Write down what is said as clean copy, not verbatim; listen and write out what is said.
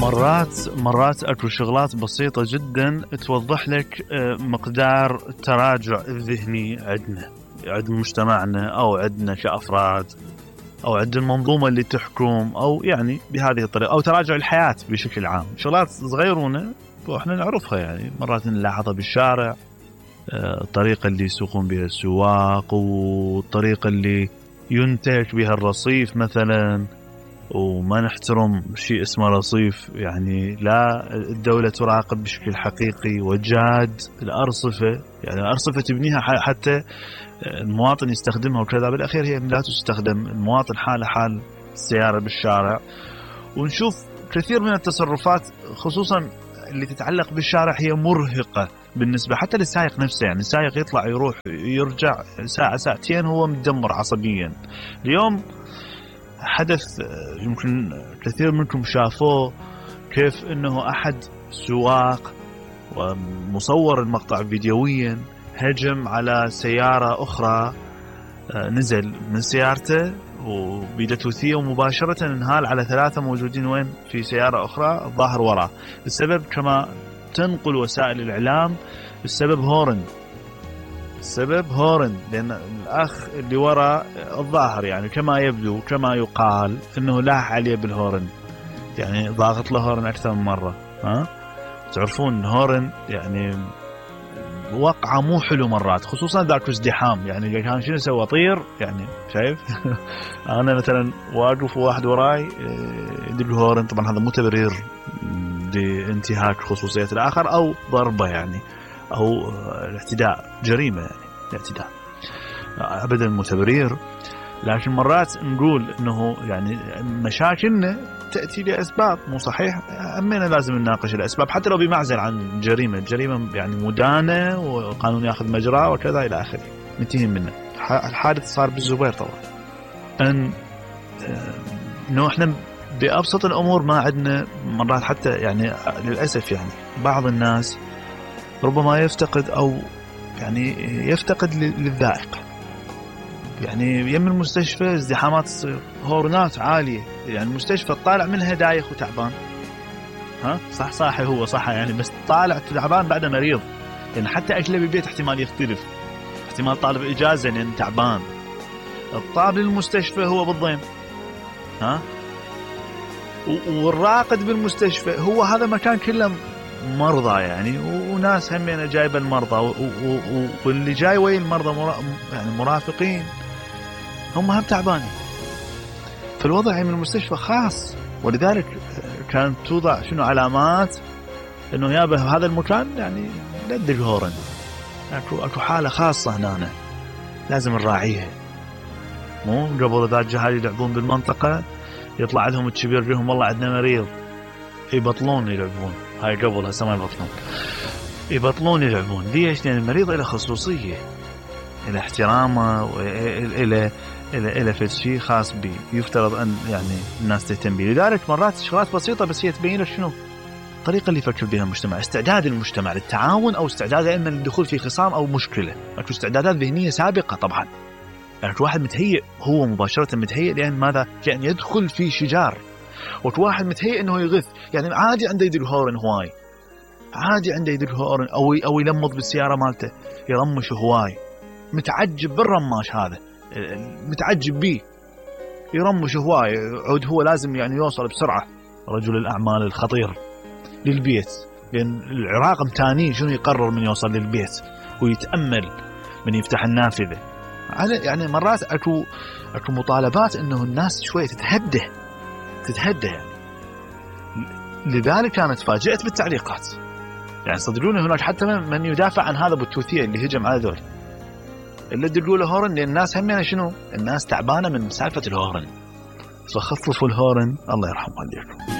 مرات اكو شغلات بسيطة جدا توضح لك مقدار التراجع الذهني عند مجتمعنا او عندنا كأفراد او عند المنظومة اللي تحكم، او يعني بهذه الطريقة، او تراجع الحياة بشكل عام. شغلات صغيرونة واحنا نعرفها، يعني مرات نلاحظها بالشارع، الطريقة اللي يسوقون بها السواق، والطريقة اللي ينتهك بها الرصيف مثلا، وما نحترم شيء اسمه رصيف. يعني لا الدولة تراقب بشكل حقيقي وجاد الأرصفة، يعني الأرصفة تبنيها حتى المواطن يستخدمها وكذا، بالأخير هي لا تستخدم، المواطن حال السيارة بالشارع. ونشوف كثير من التصرفات خصوصا اللي تتعلق بالشارع هي مرهقة بالنسبة حتى للسائق نفسه. يعني السائق يطلع يروح يرجع ساعة ساعتين هو مدمر عصبيا. اليوم حدث يمكن كثير منكم شافوه، كيف انه احد سواق ومصور المقطع فيديويا هجم على سيارة اخرى، نزل من سيارته وبيدته ومباشرة انهال على 3 موجودين وين في سيارة اخرى الظاهر وراه. السبب كما تنقل وسائل الاعلام السبب هورن، لأن الأخ اللي وراء الظاهر يعني كما يبدو كما يقال أنه لاح عليه بالهورن، يعني ضاغط له هورن أكثر من مرة. تعرفون هورن يعني وقعة مو حلو مرات، خصوصا ذاك ازدحام. يعني كان شنو سوى طير، يعني شايف أنا مثلا واقف وواحد وراي يدق هورن، طبعا هذا مو تبرير لانتهاك خصوصية الآخر أو ضربة يعني، أو الاعتداء، جريمة يعني الاعتداء، أبدا مو تبرير. لكن مرات نقول إنه يعني مشاكلنا تأتي لأسباب مو صحيح، أمنا لازم نناقش الأسباب حتى لو بمعزل عن جريمة يعني مدانة وقانون يأخذ مجراه وكذا إلى آخره، ننتهي منه. الحادث صار بالزبير طبعا، إنه إحنا بأبسط الأمور ما عندنا مرات حتى، يعني للأسف يعني بعض الناس ربما يفتقد أو يعني يفتقد للذائقة. يعني يم المستشفى ازدحامات تصير، هورنات عالية، يعني المستشفى طالع منها دايخ وتعبان، صح هو صح يعني، بس طالع تعبان بعد مريض. يعني حتى أكله بالبيت احتمال يختلف، احتمال طالب إجازة لأن تعبان، الطاب للمستشفى هو بالضيم، والراقد بالمستشفى هو هذا مكان كله مرضى يعني، وناس همين جايبه المرضى، واللي جاي ويا المرضى يعني مرافقين هم هم تعبانين. فالوضع من المستشفى خاص، ولذلك كانت توضع شنو علامات انه يابه هذا المكان يعني لد الهورن، اكو حالة خاصة هنا لازم نراعيها. مو قبل ذا الجهال يلعبون بالمنطقة يطلع لهم الكبير لهم والله عندنا مريض يبطلون يلعبون، هاي قبل هسه ما يبطلون يلعبون. ليش؟ لأن المريض له خصوصية، له احترامه، وإلى شيء خاص به يفترض أن يعني الناس تهتم به. لذلك مرات شغلات بسيطة بس هي تبين لك شنو الطريقة اللي يفكر بها المجتمع، استعداد المجتمع للتعاون أو استعداد إما للدخول في خصام أو مشكلة. أكو استعدادات ذهنية سابقة طبعا، يعني واحد متهيئ، هو مباشرة متهيئ لأن ماذا؟ يعني يدخل في شجار. وواحد متهيئ انه يغث، يعني عادي عنده يدق هورن هواي، عادي عنده يدق هورن او يلمض بالسياره مالته يرمش هواي، متعجب بالرماش هذا، متعجب بيه يرمش هواي، عود هو لازم يعني يوصل بسرعه رجل الاعمال الخطير للبيت، لان العراق متاني شنو يقرر من يوصل للبيت ويتامل من يفتح النافذه. يعني مرات اكو مطالبات انه الناس شويه تتهدى يعني. لذلك كانت فاجأت بالتعليقات، يعني صدقوني هناك حتى من يدافع عن هذا بالتوثيق اللي هجم على ذول اللي تقول هورن، لأن الناس همين شنو، الناس تعبانة من سالفة الهورن، فخففوا الهورن الله يرحم والديكم.